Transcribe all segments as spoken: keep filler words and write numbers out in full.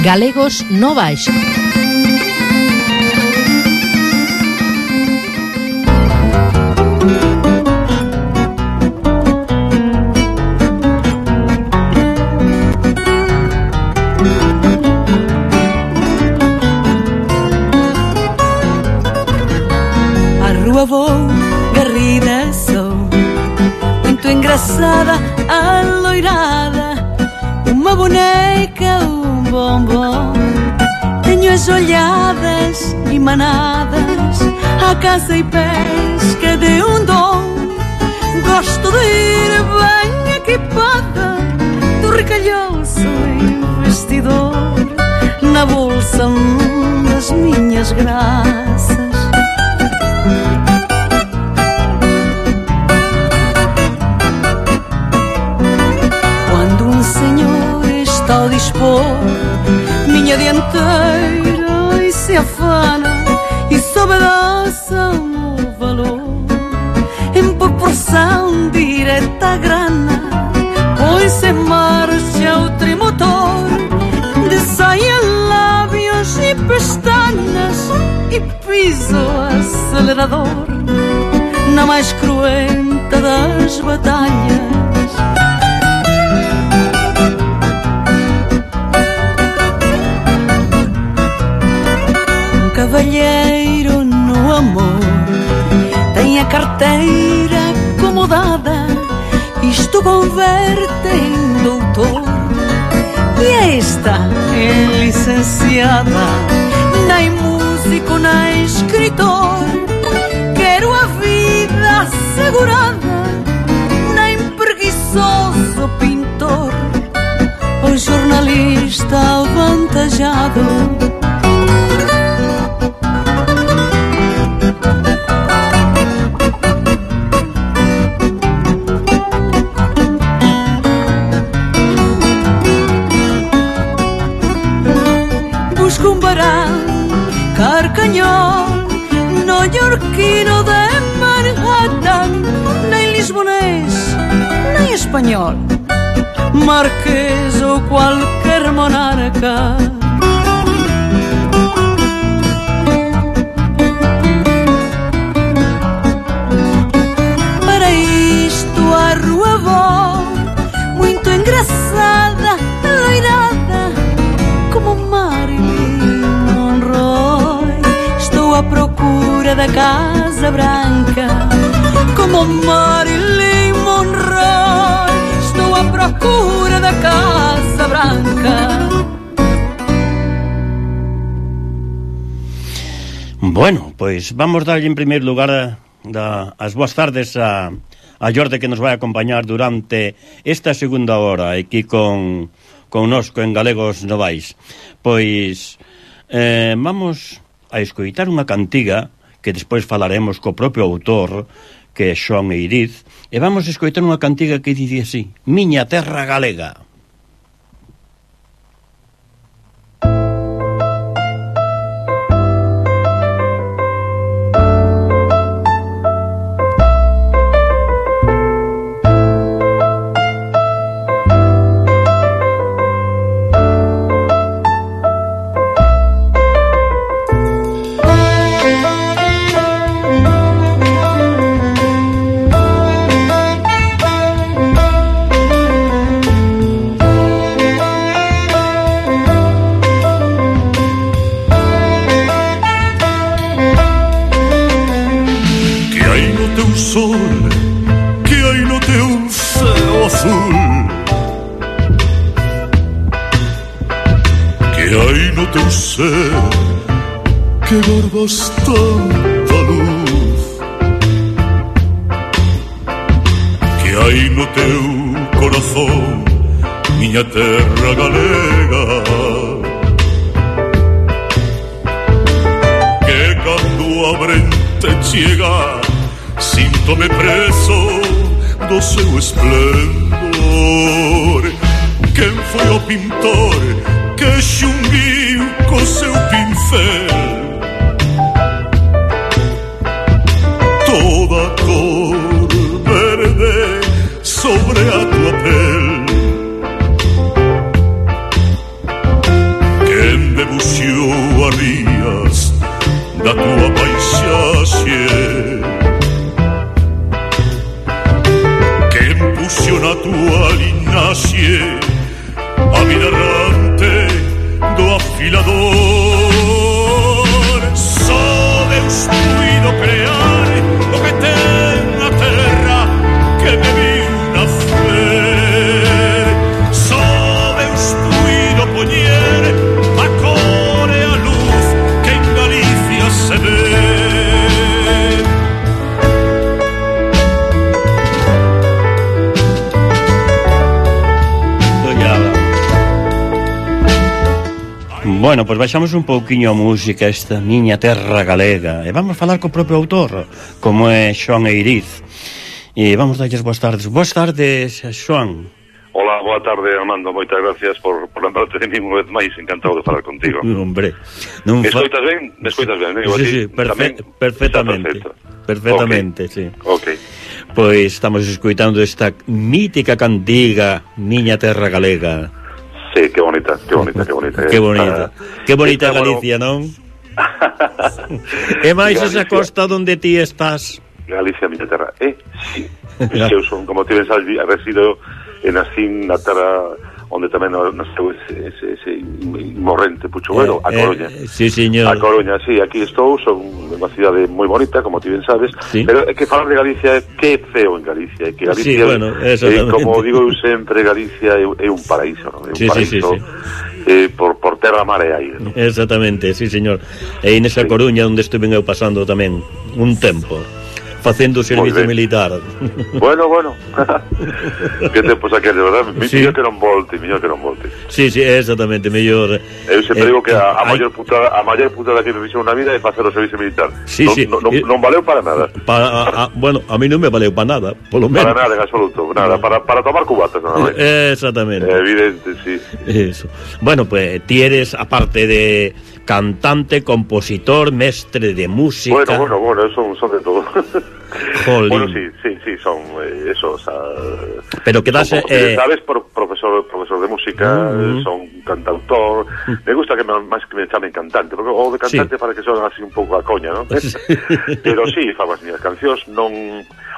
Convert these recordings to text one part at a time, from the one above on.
Galegos no Baixo. A rúa vou, garrida sou, muito engraçada, aloirada, uma boneca, um bombom. Tenho as olhadas e manadas, a caça e pesca de um dom. Gosto de ir bem equipada, do recalhoço investidor, na bolsa das minhas graças. Quando um senhor está ao dispor, minha dianteira e se afana e sobedeçam o valor em proporção direta à grana. Põe-se em marcha o trimotor de saia, lábios e pestanas e piso acelerador na mais cruenta das batalhas. Cavalheiro no amor tem a carteira acomodada, isto converte em doutor, e esta é licenciada, nem músico nem escritor. Quero a vida assegurada, nem preguiçoso pintor ou jornalista avantajado. Carcanhol, neoyorquino de Manhattan, nem lisbonês, nem espanhol, marquês ou qualquer monarca. Para isto a rua vou, muito engraçada, loirada, como Marilyn Monroe. Estou à procura da Casa Branca, como Marilyn Monroe. Estou à procura da Casa Branca. Bueno, pois vamos darlle en primeiro lugar a, da, as boas tardes a, a Jorge, que nos vai acompañar durante esta segunda hora aquí con, con nosco en Galegos Novais. Pois eh, vamos a escoitar unha cantiga que despois falaremos co propio autor, que é Xoán Eiriz, e vamos a escoitar unha cantiga que dice así: Miña terra galega. Que guardas tanta luz, que hai no teu corazón, miña terra galega, que cando a brente chega, síntome preso do seu esplendor. Quen foi o pintor que xunguiu co seu pincel toda a cor verde sobre a tua pel? Que ilusión a tua linaxe, a vida errante do afilador. Só Deus puido crear o que ten a terra que me viu nacer. Só Deus puido poñer a cor e a luz que en Galicia se ve. Bueno, pois pues baixamos un pouquiño a música esta miña terra galega e vamos falar co propio autor, como é Xoán Eiriz. E vamos darlles boas tardes. Boas tardes, Xoán. Hola, boa tarde, Armando. Moitas gracias por, por lembrarte de mí unha vez máis. Encantado de falar contigo. Hombre, non me fa... escoitas ben? Me escoitas ben? Sí, sí, perfe... perfectamente. Perfectamente, okay. sí. Ok. Pois estamos escoitando esta mítica cantiga Miña terra galega. Sí, que bonita, que bonita, que bonita. Que bonita, uh, que bonita Galicia, bueno... non? E máis esa costa onde ti estás. Galicia, miña terra. Eh, sí. Eu son, como ti ben sabes, resido e nacín na terra onde tamén nasceu ese, ese, ese morrente Puchuguero, eh, a Coruña. Eh, sí, señor. A Coruña, sí, aquí estou, son unha cidade moi bonita, como ti ben sabes, sí. Pero é que falar de Galicia é que feo en Galicia, é que Galicia, sí, bueno, é, como digo eu sempre, Galicia é, é un paraíso, non? É un sí, paraíso, sí, sí, sí. Eh, por, por terra, mar e aire, non? Exactamente, sí, señor. E nesa sí. Coruña onde estuve eu pasando tamén un tempo facendo servicio militar. Bueno, bueno. Que tempos aqueles, verdad? Sí. Mellor que non volte, mellor que non volte. Sí, sí, exactamente, mellor. Eu sempre eh, digo que a, a maior putada, a maior putada que me fixo na vida é facer o servicio militar. Sí, non, sí. Non, non, non valeu para nada. Para, a, a, bueno, a mí non me valeu para nada, polo menos. Para nada, en absoluto, nada, para, para tomar cubatas, nada máis. Exactamente. É evidente, sí. Eso. Bueno, pues ti eres, aparte de cantante, compositor, mestre de música. Bueno, bueno, bueno, son, son de todo. Jolín. Bueno, sí, sí, sí, son eh, eso, o sea, pero que das, son, eh... sabes, por, profesor profesor de música, uh-huh. Son cantautor. Uh-huh. Me gusta que me, máis que me chamen cantante, porque o de cantante sí. Para que son así un pouco a coña, ¿no? Pero sí, fago as miñas cancións, non,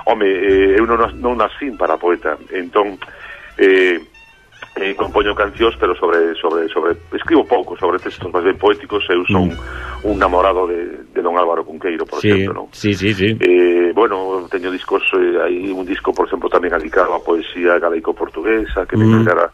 home, eh, eu non, non nascín para poeta, entón eh Eh, compoño cancións, pero sobre sobre sobre escribo pouco sobre textos máis ben poéticos. Eu son mm. un namorado de, de don Álvaro Cunqueiro, por sí, exemplo, non? Sí, sí, sí. Eh, bueno, teño discos, eh, hai un disco, por exemplo, tamén dedicado a poesía galaico-portuguesa, que mm. me encargara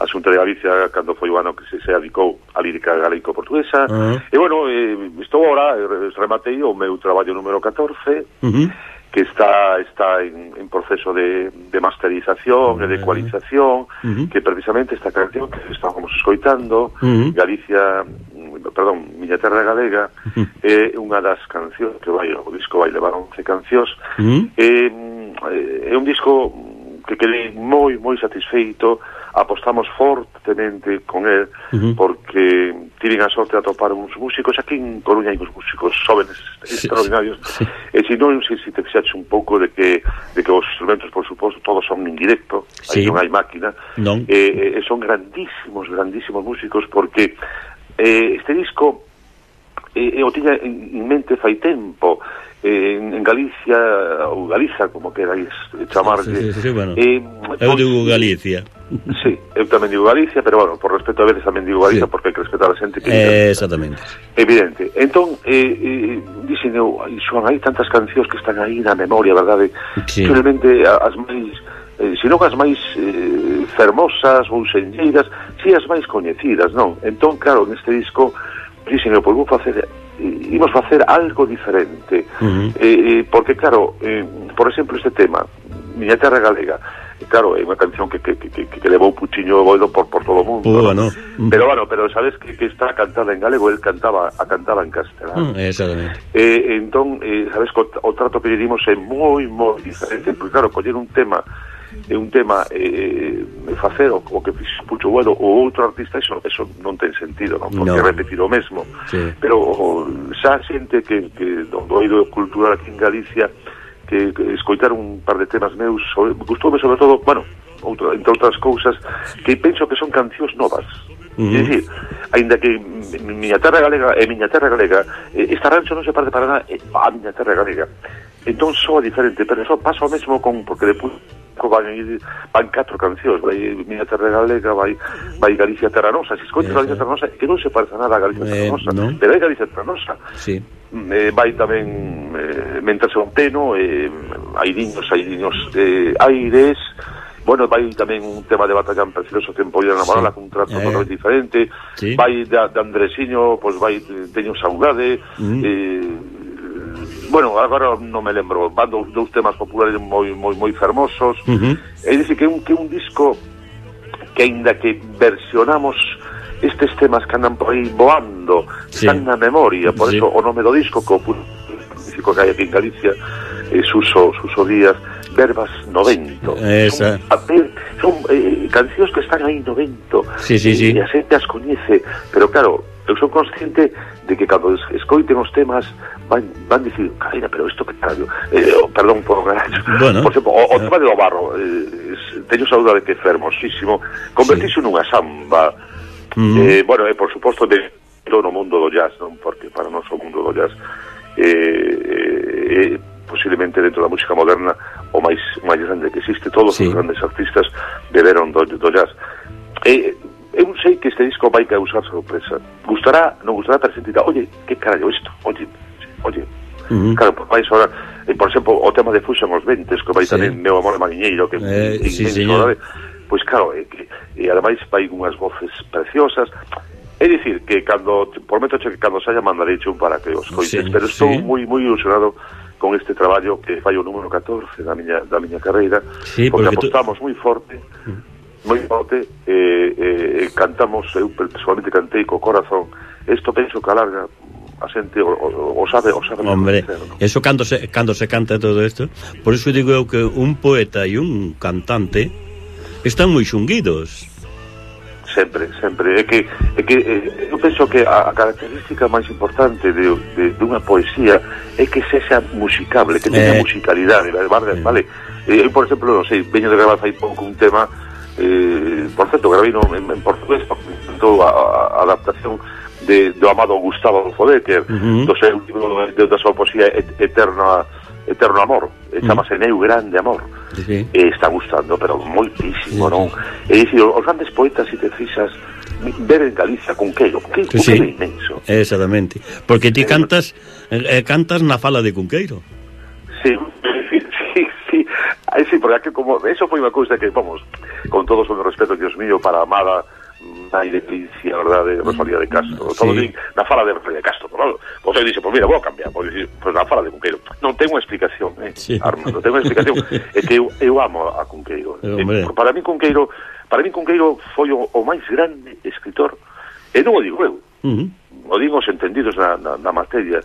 a Xunta de Galicia cando foi o ano que se, se adicou a lírica galaico-portuguesa. Uh-huh. E bueno, eh, estou ahora, rematei o meu traballo número catorce, uh-huh. que está está en, en proceso de, de masterización e de ecualización, uh-huh. que precisamente esta canción que estábamos escoitando, uh-huh. Galicia, perdón, Miña terra galega, uh-huh. é unha das cancións que vai, o disco vai levar once cancións, uh-huh. é, é un disco que quedei moi, moi satisfeito. Apostamos fortemente con el, uh-huh. porque tiven a sorte de atopar uns músicos aquí en Coruña, hai uns músicos jóvenes sí, extraordinarios, sí. E se non sei se te fixaxe un pouco de que de que os instrumentos, por suposto, todos son en directo, sí. Aí non hai máquina, non. E, e son grandísimos, grandísimos músicos, porque eh, este disco eh, o tiña en mente fai tempo. En, en Galicia, ou Galiza, como queráis chamarlle. Sí, sí, sí, bueno. eh, eu digo Galicia. Sí, eu tamén digo Galicia, pero bueno, por respeto a veces tamén digo Galicia, sí. Porque hai que respetar a xente que eh, exactamente. Evidente. Entón, eh, eh, dixen eu, Xoán, hai tantas cancións que están aí na memoria, verdade? Sí. Simplemente as máis, eh, sino as máis eh, fermosas ou senlleiras, si as máis coñecidas, non? Entón, claro, neste disco dixen eu, pois vou facer imos facer algo diferente, uh-huh. eh, porque claro, eh, por exemplo, este tema Miña terra galega, claro, é unha canción que, que, que, que levou Puchiño e Boido por, por todo o mundo, uh, ¿no? Uh-huh. Pero bueno, pero sabes que, que está cantada en galego, el cantaba a cantaba en castelán, uh, exactamente. Eh, entón, eh, sabes que o, o trato que lle dimos é moi, moi diferente, porque claro, coller un tema é un tema eh, facer o, o que fixo Pucho Bueno ou outro artista, eso, eso non ten sentido, non? Porque no. Repetir o mesmo, sí. Pero o, xa xente que, que do oído cultural aquí en Galicia que, que escoitar un par de temas meus sobre, gustoume sobre todo, bueno, outro, entre outras cousas, que penso que son cancións novas. Uh-huh. É dicir, aínda que Miña terra galega é Miña terra galega, esta rancho non se parte para nada, é a Miña terra galega. Entón soa diferente, pero eso pasa o mesmo con, porque depus van ir, van catro cancións, vai Miña Terra Galega, vai, vai Galicia Terra Nosa, se escoites Galicia Terra Nosa, que non se parece nada a Galicia Terra Nosa, eh, no. Pero hai Galicia Terra Nosa. Sí. Eh, vai tamén eh, Mentre son Teno, eh, hai niños, hai niños eh, aires, bueno, vai tamén un tema de Batallán Precioso, Tempo de Enamorada, sí. Con un trato eh. totalmente diferente, sí. Vai de, de Andresiño, pois pues vai Teño Saudade, mm. eh, bueno, agora non me lembro, van dous, dous temas populares moi moi moi fermosos. Uh-huh. É dicir que un que un disco que aínda que versionamos estes temas que andan por aí voando, sí. Están na memoria, por sí. Eso o nome do disco que o músico que hai aquí en Galicia, eh, Suso, Suso Díaz, Verbas no Vento. Esa. Son, son eh, cancións que están aí no vento. Sí, sí, sí. E a xente as coñece, pero claro, eu son consciente de que cando escoiten os temas van, van dicir, caína, pero isto que carallo, eh, oh, perdón por bueno, por exemplo, o, o tema de do barro, eh, teño saudade que é fermosísimo, convertirse sí. Nunha samba, mm. eh, bueno, e eh, por suposto de no mundo do jazz, non? Porque para nós o mundo do jazz eh, eh, posiblemente dentro da música moderna o máis, máis grande que existe, todos sí. Os grandes artistas beberon do, do jazz. E eh, eu sei que este disco vai causar sorpresa. Gustará, non gustará, pero sentirá, oye, que carallo isto? Oye, oye. Uh-huh. Claro, por vais ahora, eh, por exemplo, o tema de Fuxan os Ventes, que vai sí. Tamén Meu Amor Mariñeiro, que eh, é sí, inmenso, pois claro, eh, que, e ademais vai unhas voces preciosas. É dicir, que cando, prometo que cando se haya mandarecho un para que os coites, sí, pero estou sí. moi moi ilusionado con este traballo que fai o número catorce da miña, da miña carreira, sí, porque, porque apostamos tú... moi forte, uh-huh. moi forte, eh, eh, cantamos, eu personalmente cantei co corazón, isto penso que alarga a xente o, o, o sabe, o sabe. Hombre, ¿no? Eso cando se, cando se canta todo isto, por iso digo eu que un poeta e un cantante están moi xunguidos. Sempre, sempre, é que, é que eh, eu penso que a, a característica máis importante de, de, de unha poesía é que sexa musicable, que teña eh. musicalidade, vale? vale? Eh, eu, por exemplo, non sei, veño de gravar fai pouco un tema. Eh, por certo, grabei no, en, en portugués, a, a adaptación de, do amado Gustavo Adolfo Bécquer, uh-huh. do seu libro de, da súa poesía Eterno, Eterno Amor, uh-huh. Chamase Meu Grande Amor, uh-huh. E está gustando, pero moitísimo, uh-huh. Non? E dicir, os grandes poetas, se te fixas, ver en Galicia, Cunqueiro, Cunqueiro sí. É inmenso. Exactamente, porque ti cantas, eh, cantas na fala de Cunqueiro. Sí, sí, sí. Aí sí, porque aquí como eso foi unha cousa que, vamos, con todo o respeto, Dios mío, para a amada nai de Galicia, verdade, Rosalía de Castro, sí. Todo din, na fala de Rosalía de Castro, claro. Pois aí dixe, pois mira, vou a cambiar, pois dixe, pois na fala de Cunqueiro. Non ten unha explicación, eh, sí. Armando, ten unha explicación, é que eu, eu amo a Cunqueiro. Eh, para mí Cunqueiro, para mí Cunqueiro foi o, o máis grande escritor, e non o digo eu, uh-huh. O digo os entendidos na, na, na materia,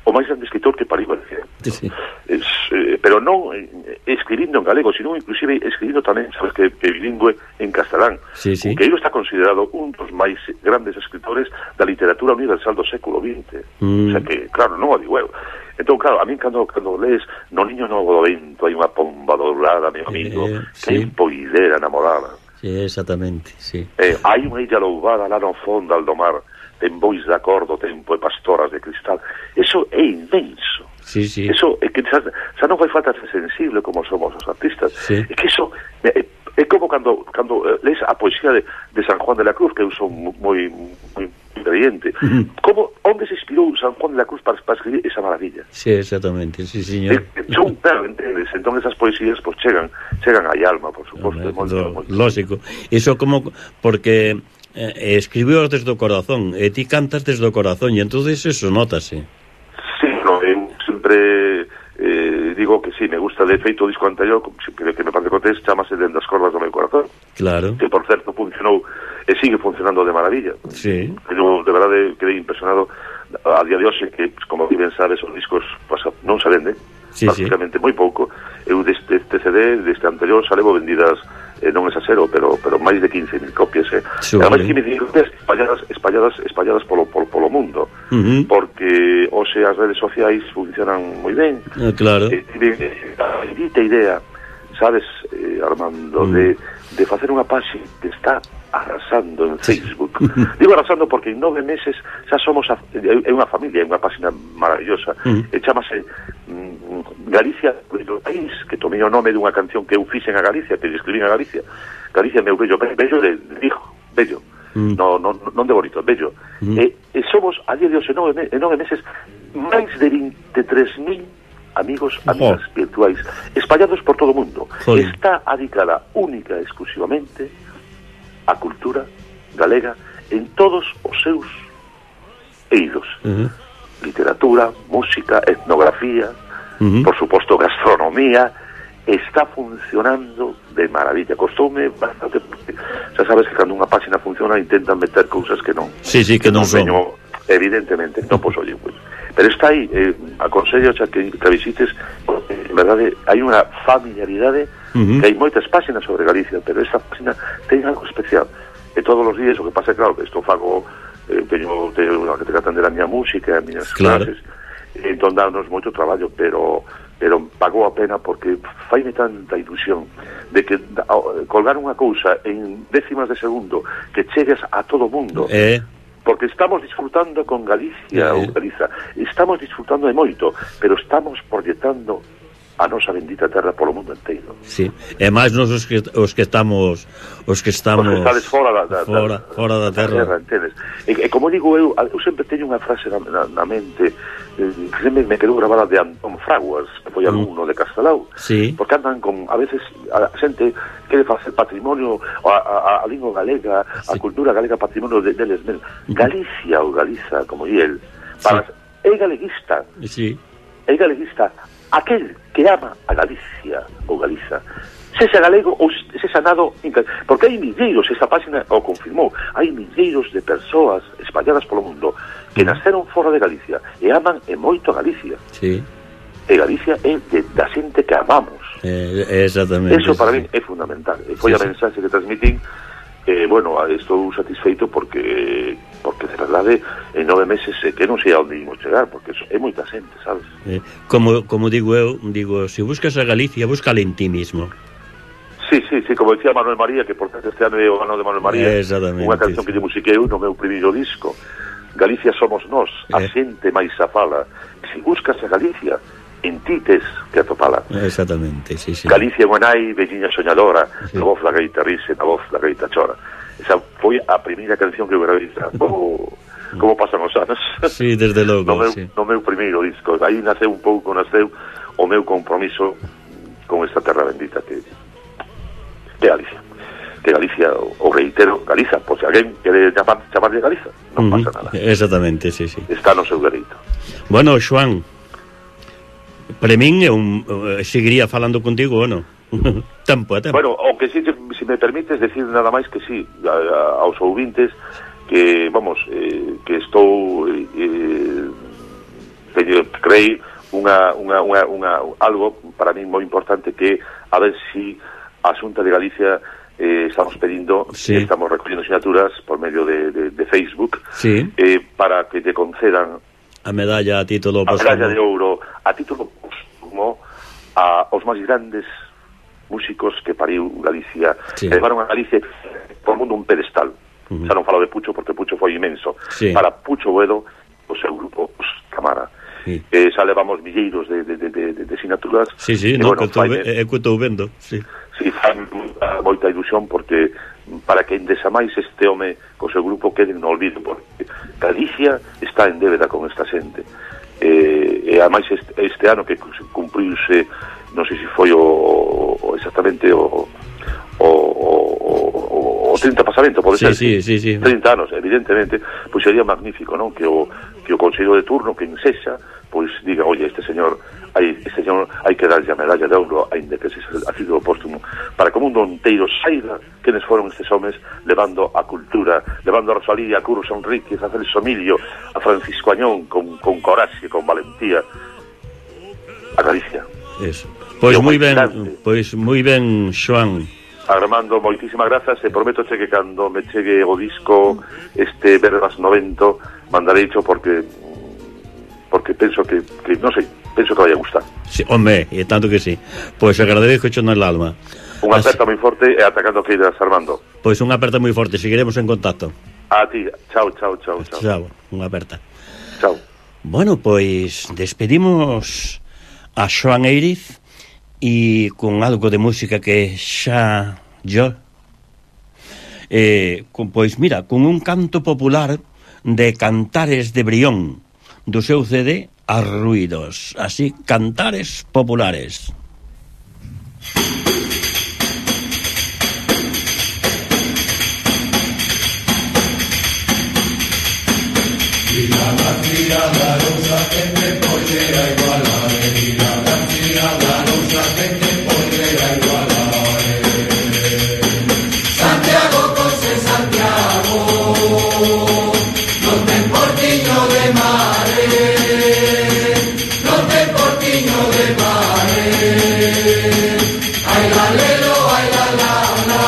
o máis grande escritor que pariu Galicia. Sí. Es, eh, pero non eh, escribindo en galego, sino inclusive escribindo tamén, sabes que, que bilingüe en castelán. Sí, sí. Que ele está considerado un dos máis grandes escritores da literatura universal do século vinte. Mm. O sea que, claro, non o digo eu. Entón, claro, a mí cando, cando lees No Niño Novo do Vento hai unha pomba dourada, meu amigo, eh, que sí. Poidera enamorada. Sí, exactamente, sí. Eh, hai unha illa louvada lá no fondo do mar, ten bois de acordo, tempo e pastoras de cristal. Eso é inmenso. Sí, sí. Eso é que xa, xa non fai falta ser sensible como somos os artistas. Sí. É que eso é, é como cando cando uh, lees a poesía de, de San Juan de la Cruz, que eu son moi moi creyente. Uh-huh. Como onde se inspirou San Juan de la Cruz para, para escribir esa maravilla? Sí, exactamente, sí, señor. Eh, son, claro, entendes, entón esas poesías pues chegan, chegan aí alma, por suposto. No, no, lógico. Eso como porque eh, escribiu desde o corazón, e ti cantas desde o corazón, e entonces eso notase. Sí, no, eu sempre eh, digo que sí, me gusta, de feito o disco anterior, que, que me parece contexto, chamase Dende as cordas do meu corazón. Claro. Que, por certo, funcionou e sigue funcionando de maravilla. Sí. Eu, de verdade, quedei impresionado a día de hoxe, que, como bien sabes, os discos pasa, non se venden, sí, prácticamente sí. Moi pouco. Eu deste este C D, deste anterior, xa levo vendidas, eh, non é xasero, pero pero máis de quince mil copias, eh. Sí, ademais quince mil copias espalladas, espalladas, espalladas polo, polo, polo mundo, uh-huh. Porque hoxe as redes sociais funcionan moi ben. Ah, claro. Eh, eh, a bendita idea, sabes, eh, Armando, uh-huh. de, de facer unha página que está arrasando en Facebook. Digo arrasando porque en nove meses xa somos a, é unha familia, é unha página maravillosa. Uh-huh. E chamase mm, Galicia, o país, que tomei o nome dunha canción que eu fixen a Galicia, que escribín a Galicia. Galicia, meu bello, bello de, de hijo, bello. Mm. No, no, non de bonito, bello. Mm. E, e somos, a día de hoxe, en nove, en nove meses, máis de vinte e tres mil amigos, amigas oh. virtuais, espallados por todo o mundo. Joder. Está adicada única e exclusivamente a cultura galega en todos os seus eidos. Uh -huh. Literatura, música, etnografía, uh -huh. por suposto gastronomía, está funcionando de maravilla. Costoume bastante, porque xa sabes que cando unha página funciona intentan meter cousas que non. Sí, sí, que, que non son. Veño, evidentemente, non, pois, oye, pues, pero está aí, eh, aconsello xa que, que visites, en verdade, hai unha familiaridade, uh -huh. que hai moitas páxinas sobre Galicia, pero esta página ten algo especial. E todos os días, o que pasa é, claro, que isto fago, eh, teño, teño que te atender a miña música, as miñas claro. clases, entón dános moito traballo, pero pero pagou a pena porque faime tanta ilusión de que colgar unha cousa en décimas de segundo que chegues a todo o mundo, eh. porque estamos disfrutando con Galicia, eh. ou Galiza, estamos disfrutando de moito, pero estamos proyectando a nosa bendita terra polo mundo inteiro. Sí, e máis nos os que, os que estamos os que estamos os que estades fora da, da, fora, da, fora da terra, da terra e, e como digo eu, eu sempre teño unha frase na, na, na mente eh, que sempre me quedou grabada de Antón Fraguas, que foi alumno mm. de Castelao, sí. porque andan con, a veces a xente quere facer patrimonio a, a, a lingua galega, sí. a cultura galega patrimonio de, deles mesmos. Galicia ou Galiza, como di el, para, sí. é galeguista, sí. é galeguista aquel que ama a Galicia ou Galiza, sexa galego ou sexa nado, porque hai milleiros, esta página o confirmou, hai milleiros de persoas espalladas polo mundo que nasceron fora de Galicia e aman e moito a Galicia. Sí. E Galicia é de, da xente que amamos. Eh, exactamente. Eso para sí. mí é fundamental. E foi sí, a mensaxe sí. que transmitín. Eh, bueno, estou satisfeito porque porque de verdade en nove meses eh, que non sei a onde imos chegar, porque é moita xente, sabes? Eh, como, como digo eu, digo, se buscas a Galicia, búscala en ti mismo. Sí, sí, sí, como decía Manuel María, que por tanto este ano é o ano de Manuel María, unha canción sí. que lle musiquei eu no meu primeiro disco, Galicia somos nós, a eh. xente máis a fala. Se buscas a Galicia, en ti tes que atopala. Exactamente, sí, sí. Galicia Guanai, velliña soñadora, sí. na voz da gaita rise, na voz da gaita chora. Esa foi a primeira canción que eu gravei. Como, como pasan os anos. Sí, desde logo, no meu, sí. no meu primeiro disco. Aí naceu un pouco, naceu o meu compromiso con esta terra bendita que que Galicia. Que Galicia, o reitero, Galiza, pois se alguén quere chamar, chamarlle Galiza, non uh -huh. pasa nada. Exactamente, sí, sí. Está no seu dereito. Bueno, Xoán, para min é un, seguiría falando contigo, ou non? Tempo a tempo. Bueno, o que si, si me permites decir nada máis que sí, a, a, aos ouvintes, que, vamos, eh, que estou eh, teño, creí unha, unha, unha, unha, algo para mí moi importante, que a ver si a Xunta de Galicia eh, estamos pedindo, sí. estamos recollendo sinaturas por medio de, de, de Facebook, sí. eh, para que te concedan a medalla a título a medalla de ouro a título póstumo a os máis grandes músicos que pariu Galicia, sí. levaron a Galicia por mundo un pedestal. Uh -huh. Xa non falo de Pucho porque Pucho foi inmenso, sí. para Pucho Boedo o seu grupo os Camara, sí. eh, xa levamos milleiros de, de, de, de, de sinaturas. Sí, sí, e, no, bueno, que estou vendo, sí. Sí, fan moita ilusión porque para que endesa máis este home co seu grupo quede no olvido, porque Galicia está en débeda con esta xente, eh, e ademais este, este ano que cumpriuse, non sei se foi o, o exactamente o o, o, o trinta pasamento, pode sí, ser sí, sí, sí. trinta anos, evidentemente, pois sería magnífico, non? Que o, que o consello de turno, que ensexa, pois diga, oye, este señor hai, este señor hai que darlle a medalla de ouro, aínda que se ha sido póstumo, para que o mundo inteiro saiba quenes foron estes homes levando a cultura, levando a Rosalía, a Curros Enríquez, a Celso Emilio, a Francisco Añón, con, con coraxe, con valentía, a Galicia. Eso. Pois moi ben, pois moi ben, Xoán. Armando, moitísimas grazas, e prometo che que cando me chegue o disco este Verbas noventa mandarei cho porque porque penso que, que non sei, penso que vai a gustar. Sí, home, e tanto que sí. Pois agradezco cho no alma. Unha aperta moi forte e atacando que irás, Armando. Pois unha aperta moi forte, seguiremos en contacto. A ti, chao, chao, chao, chao. Chao, unha aperta. Chao. Bueno, pois despedimos a Xoan Eiriz e con algo de música que xa yo eh, con, pois mira, con un canto popular de Cantares de Brión do seu C D Arruidos, así, Cantares Populares. La García da Lousa tende pollera igualare, la García da Lousa tende pollera igualare. Santiago cose Santiago, non ten portiño de mare, non ten portiño de mare. Ai la lelo, ai la la la.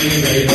Ribeiro